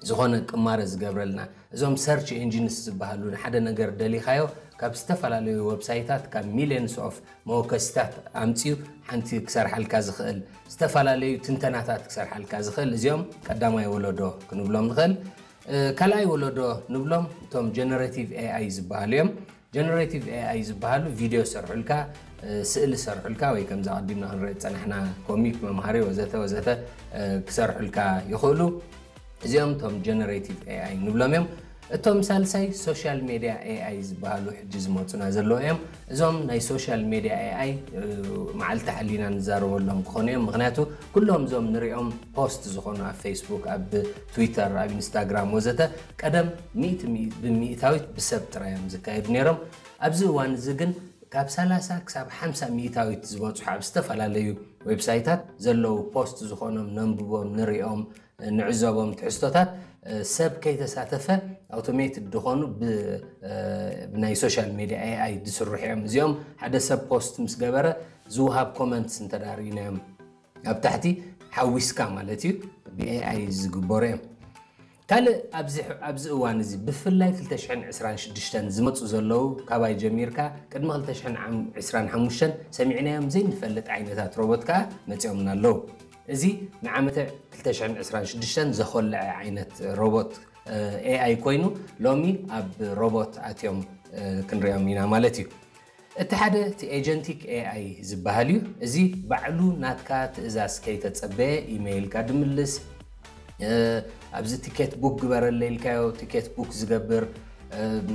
ዝኾነ ቅማረ ዝገብረልና። እዞም search engines ዝበሃሉ፣ ንሓደ ነገር ደሊኻዮ ካብ ዝተፈላለዩ website ታት ካብ millions of መወከሲታት ኣምፅኡ ሓንቲ ክሰርሓልካ ዝኽእል፣ ዝተፈላለዩ ትንተናታት ክሰርሓልካ ዝኽእል፣ እዚኦም ቀዳማይ ወለዶ ክንብሎም ንኽእል። ካልኣይ ወለዶ ንብሎም እቶም generative A I ዝበሃሉ እዮም። generative A I ዝበሃሉ ቪድዮ ሰርሑልካ፣ ስእሊ ሰርሑልካ፣ ወይ ከምዛ ቀዲምና ክንርኢ ዝፀናሕና ኮሚክ፣ መምሃሪ ወዘተ ወዘተ ክሰርሑልካ ይኽእሉ። እዚኦም እቶም generative A I ንብሎም እዮም። እቶም ሳልሳይ social media A I ዝበሃሉ ሕጂ ዝመፁና ዘለዉ እዮም። እዞም ናይ social media A I መዓልቲ ሓሊና ንዛረበሎም ክኾኑ እዮም። ምክንያቱ ኩሎም እዞም ንሪኦም ፖስት ዝኾኑ ኣብ ፌስቡክ፣ ኣብ ትዊተር፣ ኣብ ኢንስታግራም ወዘተ ቀደም ሚእቲ ብሚእታዊት ብሰብ ጥራይ እዮም ዝካየዱ ነይሮም። ኣብዚ እዋን እዚ ግን ካብ ሰላሳ ክሳብ ሓምሳ ሚእታዊት ዝበፅሑ ኣብ ዝተፈላለዩ ዌብሳይታት ዘለዉ ፖስት ዝኾኖም ነንብቦም፣ ንሪኦም፣ ንዕዘቦም ትሕዝቶታት ሰብ ከይተሳተፈ ኣውቶሜትድ ዝኾኑ ብናይ ሶሻል ሜድያ ኤ ኣይ ዝስርሑ እዮም። እዚኦም ሓደ ሰብ ፖስት ምስ ገበረ ዝውሃብ ኮመንትስ እንተዳርኢናዮም ኣብ ታሕቲ ሓዊስካ ማለት እዩ ብኤ ኣይ ዝግበሩ እዮም። ካልእ ኣብዚ እዋን እዚ ብፍላይ ክልተ ሽሕን ዕስራን ሽዱሽተን ዝመፁ ዘለዉ ካባይ ጀሚርካ ቅድሚ ክልተ ሽሕን ዕስራን ሓሙሽተን ሰሚዕናዮም ዘይንፈልጥ ዓይነታት ሮቦት ከዓ መፂኦምና ኣለዉ። እዚ ንዓመተ ክልተ ሽሕን ዕስራን ሽዱሽተን ዘኾልዐ ዓይነት ሮቦት ኤ ኣይ ኮይኑ ሎሚ ኣብ ሮቦት ኣትዮም ክንሪኦም ኢና ማለት እዩ። እቲ ሓደ እቲ ኤጀንቲክ ኤ ኣይ ዝበሃል እዩ። እዚ ባዕሉ ናትካ ትእዛዝ ከይተጸበየ ኢሜይልካ ድምልስ፣ ኣብዚ ቲኬት ቡክ ግበረለ ኢልካዮ ቲኬት ቡክ ዝገብር፣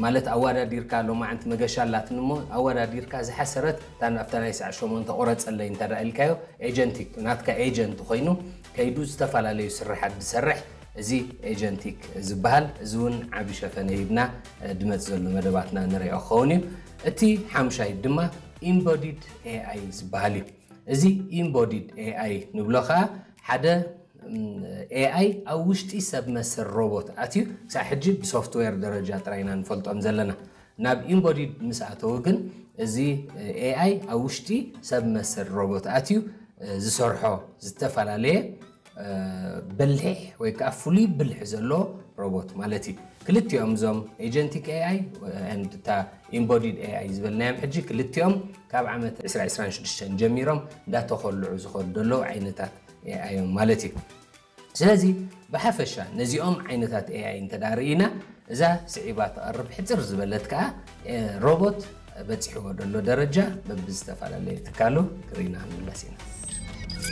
ማለት ኣዋዳዲርካ ሎማዓንቲ መገሻ ኣላትኒ እሞ ኣዋዳዲርካ ዝሓሰረት እታ ኣብታ ናይ ሰዓት ሸሞንተ ቁረጸለይ እንተ ኢልካዮ ኤጀንቲክ ናትካ ኤጀንት ኮይኑ ከይዱ ዝተፈላለዩ ስርሓት ዝሰርሕ እዚ ኤጀንቲክ ዝበሃል። እዚ እውን ዓቢ ሸፈነ ሂብና ድመጽእ ዘሎ መደባትና ንሪኦ ክኸውን እዩ። እቲ ሓምሻይ ድማ ኢምቦዲድ ኤ ኣይ ዝበሃል እዩ። እዚ ኢምቦዲድ ኤ ኣይ ንብሎ ከዓ ሓደ ኤ ኣይ ኣብ ውሽጢ ሰብ መሰል ሮቦት ኣትዩ ክሳብ ሕጂ ብሶፍትዌር ደረጃ ጥራይ ኢና ንፈልጦም ዘለና። ናብ ኢምቦዲድ ምስ ኣተዉ ግን እዚ ኤ ኣይ ኣብ ውሽጢ ሰብ መሰል ሮቦት ኣትዩ ዝሰርሖ ዝተፈላለየ በሊሕ ወይ ከዓ ፍሉይ ብልሒ ዘሎ ሮቦት ማለት እዩ። ክልቲኦም እዞም ኤጀንቲክ ኤ ኣይ and እታ ኢምቦዲድ ኤ ኣይ ዝበልናዮም ሕጂ ክልቲኦም ካብ ዓመት ዕስራ ዕስራን ሽዱሽተን ጀሚሮም እንዳተኾልዑ ዝኸዱ ዘለዉ ዓይነታት ኤ ኣይ እዮም ማለት እዩ። ስለዚ ብሓፈሻ ነዚኦም ዓይነታት ኤ ኣይ እንተ ደኣ ርኢና እዛ ስዒባ ትቐርብ ሕፅር ዝበለት ከዓ ሮቦት በፂሕዎ ዘሎ ደረጃ በብዝተፈላለየ ትካሉ ክርኢና ክንምለስ ኢና።